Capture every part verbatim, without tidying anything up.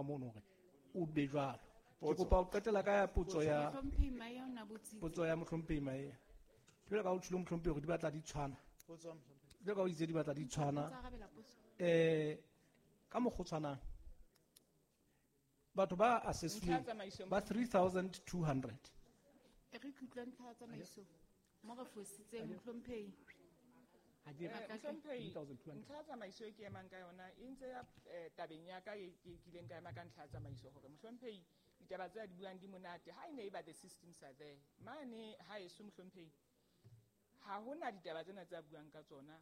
ka mono hore o be jwalo. Ke kopa ho qetela ka ya potso ya Mohlomphehi Maea o na botsitse. Potso ya Mohlomphehi Maea. Jwalo ka o tjholo, Mohlomphehi, hore di batla di tshwana. Jwalo ka o itse di batla di tshwana. Tsa arabela potso. Eh ka mokgwa o tshwanang batho ba assessweng Ntlha ya tsamaiso. ba three thousand two hundred. E re ke utlwe ntlha ya tsamaiso mo re fositseng, Mohlomphehi. Eh, Mohlomphehi, three thousand two hundred. Ntlha ya tsamaiso e ke emang ka yona e ntse ya eh, tabeng ya ka e ke kileng ka ema ka ntlha ya tsamaiso hore, Mohlomphehi, ditaba tse a di buang di monate ha e ne e ba the systems are there mane ha eso. Mohlomphehi, ha hona ditaba tsena tse a buang ka tsona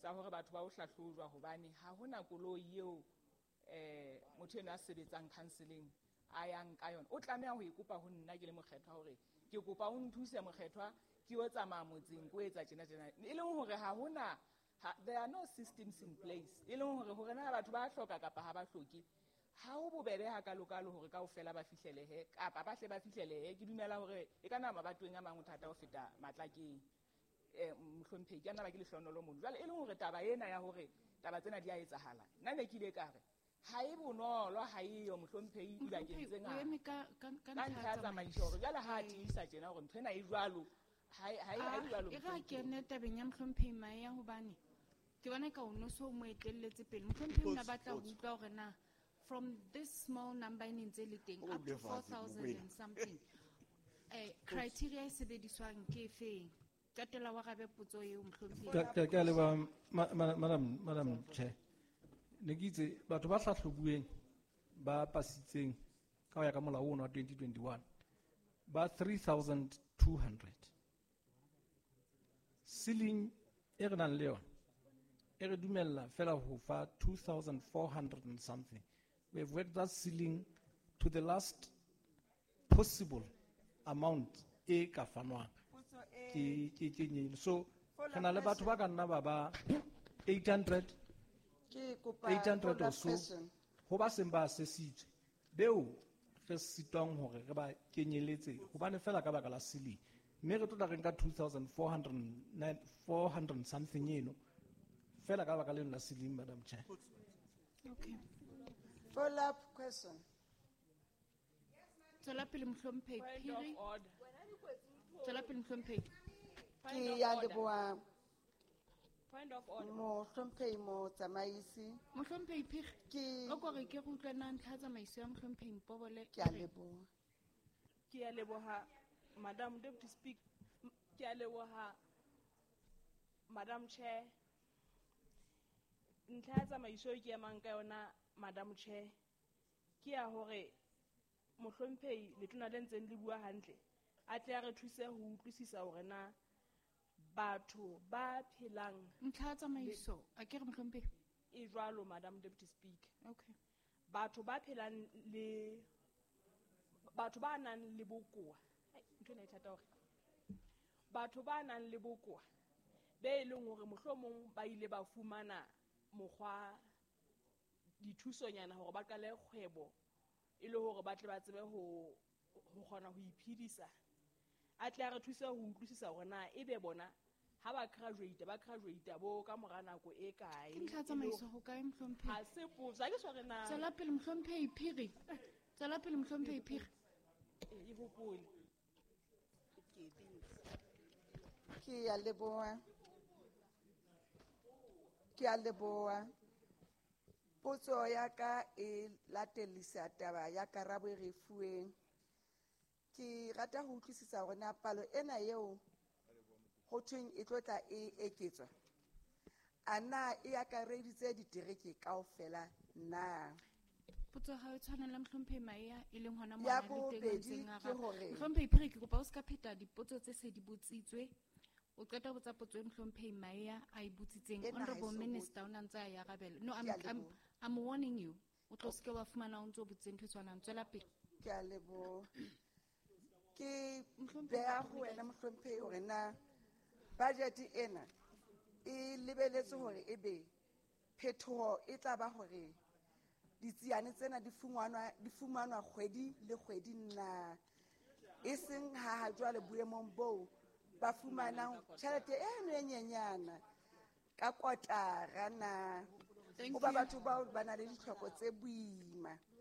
tsa hore batho ba o hlahlojwa, hobane ha hona koloi eo eh motho eno a sebetsang counseling a yang ka yona. O tlameha ho e kopa ho nna ke le mokgethwa hore ke kopa o nthuse, mokgethwa, ke yo tsamaya motseng ko etsa tjena tjena, e leng hore ha hona ha, there are no systems in place, e leng hore hore na batho ba hloka kapa ha ba hloke, ha ho bobebe hakalokalo hore kaofela ba fihlelehe kapa ba hle ba fihlelehe. Ke dumela hore e ka nama mabatoweng a mang ho thata ho feta Matlakeng. um mohlomphehi, ke a nna ba ke lehlonolo mono jwale, e leng hore taba ena ya hore taba tsena di a etsahala, nna ne ke ile ka re ha e bonolo, ha eyo, Mohlomphehi, dibakeng tse O ngata. Eme ka ka ka Ka ntlha ntlha ya tsamaiso, hore jwale ha a tiisa tjena hore ntho ena e jwalo, ha e ha e- ha e jwalo. E re a Mohlomphehi. Kene tabeng ya Mohlomphehi Maea, hobane ke bona ka o no so mo etelletse pele. Mohlomphehi o na batla ho utlwa hore na from this small number e ne ntse le teng up to four thousand and something, eh criteria e sebediswang ke efeng? Qetela wa rabe potso eo, Mohlomphehi. Ka ka- ke a leboha, ma- ma- madam madam Chair. Ne ke itse batho ba hlahlobuweng ba pasitseng ka ho ya ka molao ono wa twenty twenty-one ba three thousand two hundred. Ceiling e re nang le yona e re dumella fela ho fa two thousand four hundred and something. We have worked that ceiling to the last possible amount e ka fanwang. Potso e Ke ke ke nyene. So re na le batho ba ka nna ba ba eight hundred Ke kopa eight hundred or follow-up so question. Ho ba seng ba assessitswe beo re sitwang hore re ba kenyeletse hobane fela ka baka la ceiling, mme re tlo tla re nka two thousand four hundred something eno fela ka baka leno la ceiling, Madam Chair. Okay. Follow-up question. Tswela pele, Mohlomphehi Point Phiri. of order. Tswela pele, Mohlomphehi. Point Ke of ya order. leboha, Point of order. Mohlomphehi Motsamaisi. Mohlomphehi Phiri, Ke o kore ke re utlwe na ntlha ya tsamaiso ya Mohlomphehi Mpobole. Ke a leboha. Ke a leboha, Madam Deputy Speaker. Ke a leboha, Madam Chair. Ntlha ya tsamaiso e ke emang ka yona, Madam Chair, ke ya hore Mohlomphehi letona le ntseng le bua hantle a tle a re thuse ho utlwisisa hore na batho ba phelang Ntlha ya tsamaiso a ke re, Mohlomphehi? E jwalo, Madam Deputy Speaker. Okay. Batho ba phelang le batho ba nang le bokowa. Ai, ntho ena e thata hore batho ba nang le bokowa be e leng hore mohlomong ba ile ba fumana mokgwa dithusonyana hore ba qale kgwebo e le hore ba tle ba tsebe ho ho kgona ho iphedisa, a tle a re thuse ho utlwisisa hore na ebe bona ha ba graduate ba graduate bo ka mora nako e kae. Ke ntlha ya tsamaiso ho kae, Mohlomphehi? Ha se potso, ha ke so re na Tswela pele, Mohlomphehi Phiri. Tswela pele, Mohlomphehi Phiri. E hopole. Ke a leboha. Ke a leboha. Potso ya ka e latellisa taba ya karabo e re e fuweng. Ke rata ho utlwisisa hore na palo ena eo ho thweng e tlo tla e eketswa, a na e akareditse ditereke kaofela na? Potso ya hao e tshwana le Mohlomphehi Maea, e leng hona Ya mona le teng a bobedi ntseng a ke araba. hore- Mohlomphehi Phiri, ke kopa o ska pheta dipotso tse se di botsitswe. O qeta ho botsa potso e Mohlomphehi Maea a e botsitseng. Ena ha e Honorable so Minister o na ntse a e arabela. No, I'm, Ke a I'm, leboha. I'm warning you. O tlo seke wa fumana o ntso botse ntho e tshwanang. Tswela pele. Ke a leboha. Ke Mohlomphehi beha ho wena, Mohlomphehi, hore na budget ena e lebeletse hore ebe phetoho e tla ba hore ditsiane tsena di fumanwa di fumanwa kgwedi le kgwedi na, e seng ha ha jwale boemong boo ba fumanang tjhelete eno e nyenyana ka kotara na? Thank Hoba you. batho bao ba na le ditlhoko tse boima.